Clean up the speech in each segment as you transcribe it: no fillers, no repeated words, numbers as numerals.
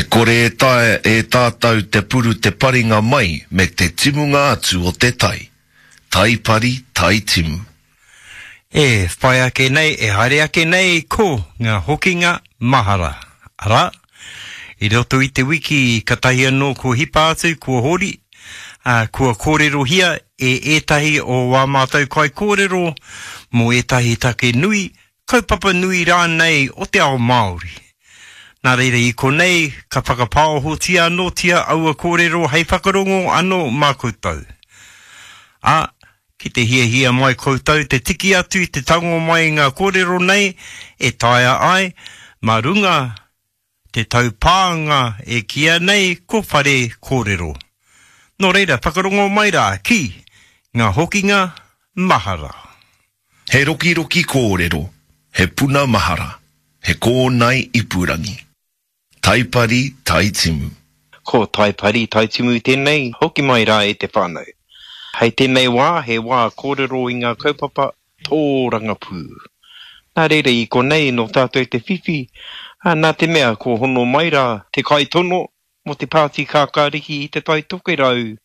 kore e taea e tātou te puru te paringa mai me te timunga atu o te tai. Tai pari, tai timu. E whai ake nei, e haere ake nei ko ngā hokinga mahara. Arā, i roto i te wiki katahi anō kua hipa atu, kua hori, ā, kua kōrerohia e ētahi o wā mātou kaikōrero mō ētahi take nui, kaupapa nui rānei o te ao Māori. Nā reira i konei ka whakapāohotia anōtia aua kōrero hei whakarongo anō mā koutou. Ā, ki te hiahia mai koutou te tiki atu, te tango mai i ngā kōrero nei e taea ai mā runga te taupānga e kīia nei ko Whare Kōrero. Nō reira, whakarongo mai rā ki Ngā Hokinga Mahara. He rokiroki kōrero, he puna mahara, he kōnae ipurangi. Taipari Taitimu. Ko Taipari Taitimu tēnei, hoki mai rā e te whānau. Hei tēnei wā, he wā kōrero i ngā kaupapa tōrangapū. Nā reira i konei nō tātou te whiwhi, ā, nā te mea kua hono mai rā te kaitono mō te Pāti Kākāriki i Te Tai Tokerau,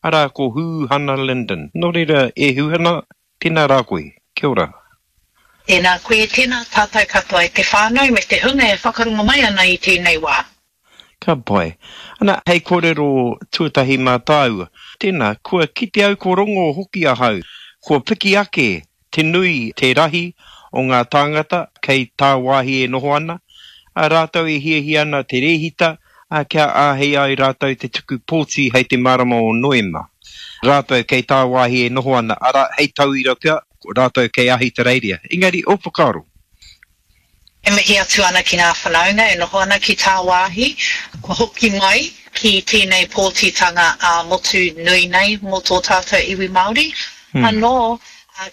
arā ko Hūhana Lyndon. Nō reira, e Hūhana, Tēnā rā koe. Kia ora. Tēnā koe, tēnā tātou katoa e te whānau me te hunga e whakarongo mai ana i tēnei wā. Ka pai. Ana, hei kōrero tuatahi mā tāua. Tēnā, kua kite au ko rongo hoki ahau, kua piki ake te nui, te rahi o ngā tāngata kei tāwāhi e noho ana, ā, rātou e hiahia ana te rēhita, ā, kia āhei ai rātou te tuku pōti hei te marama o Noema. Rātou kei tāwāhi e noho ana, arā, hei tauira pea, rātou kei Ahitereiria. Engari, ō whakaaro? E mihi atu ana ki ngā whanaunga e noho ana ki tāwāhi, kua hoki mai ki tēnei pōtitanga ā-motu nui nei mō tō tātou iwi Māori. Anō,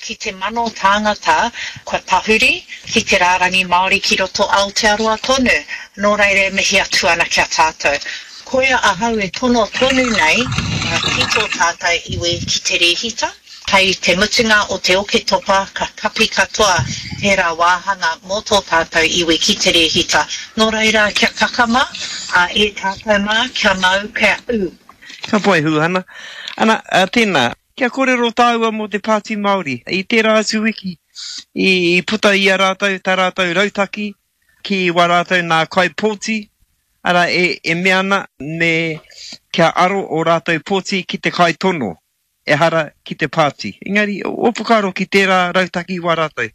ki te mano tāngata kua tahuri ki te rārangi Māori ki roto Aotearoa tonu, nō reira e mihi atu ana ki a tātou. Koia ahau e tono tonu nei ki tō tātou iwi ki te rēhita, hei te mutunga o te Oketopa ka kapi katoa tērā wāhanga mō tō tātou iwi ki te rēhita. Nō reira kia kakama e tātou mā, kia mau, kia ū. Ka pai Huhana. Ana, tēnā, Kia kōrero tāua mō te Pāti Māori. I tērā atu wiki, i puta i a rātou tā rātou rautaki ki wā rātou nā kaipōti, arā, e mea ana me kia aro ō rātou pōti ki te kaitono, ehara ki te pāti. Engari, ō whakaaro ki tērā rautaki wā rātou?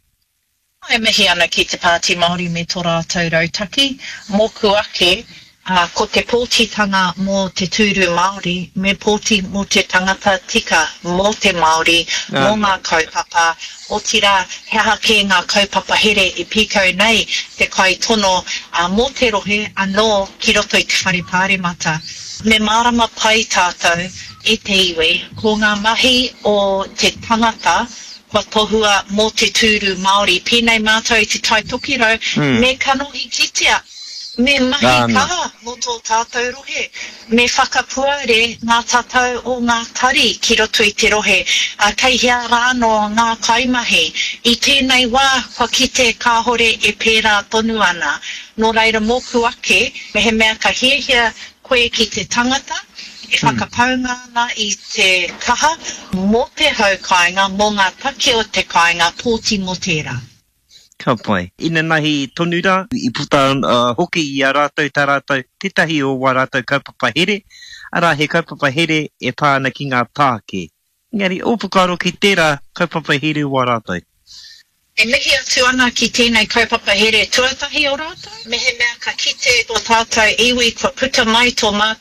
E mihi ana ki te Pāti Māori me tō rātou rautaki. Mōku ake, ko te pōtitanga mō te tūru Māori, me pōti mō te tangata tika, mō te Māori, mō ngā kaupapa, otirā, he aha kē ngā kaupapa here e pīkau nei te kaitono mō te rohe anō ki roto i te Whare Pāremata. Me mārama pai tātou e te iwi, ko ngā mahi o te tangata, Kua tohua mō te tūru Māori. Pēnei mātou i Te Tai Tokerau, me kanohi kitea, me mahi kaha mō tō tātou rohe, me whakapuare ngā tatau o ngā tari ki roto i te rohe, ā, kei hea rānō ngā kaimahi. I tēnei wā, kua kite kāhore e pērā tonu ana. Nō reira mōku ake, mehemea ka hiahia koe ki te tangata e whakapaunga ana i te kaha mō te hau kāinga, mō ngā take o te kāinga, pōti mō tērā. Ka pai. Inanahi tonu rā, i puta hoki i a rātou tā rātou, tētahi o wā rātou kaupapa here, arā, he kaupapa here e pā ana ki ngā tāke. Engari, ō whakaaro ki tērā kaupapa here wā rātou? E mihi atu ana ki tēnei kaupapa here tuatahi o rātou. Mehemea ka kite tō tātou iwi kua puta mai tō mātou.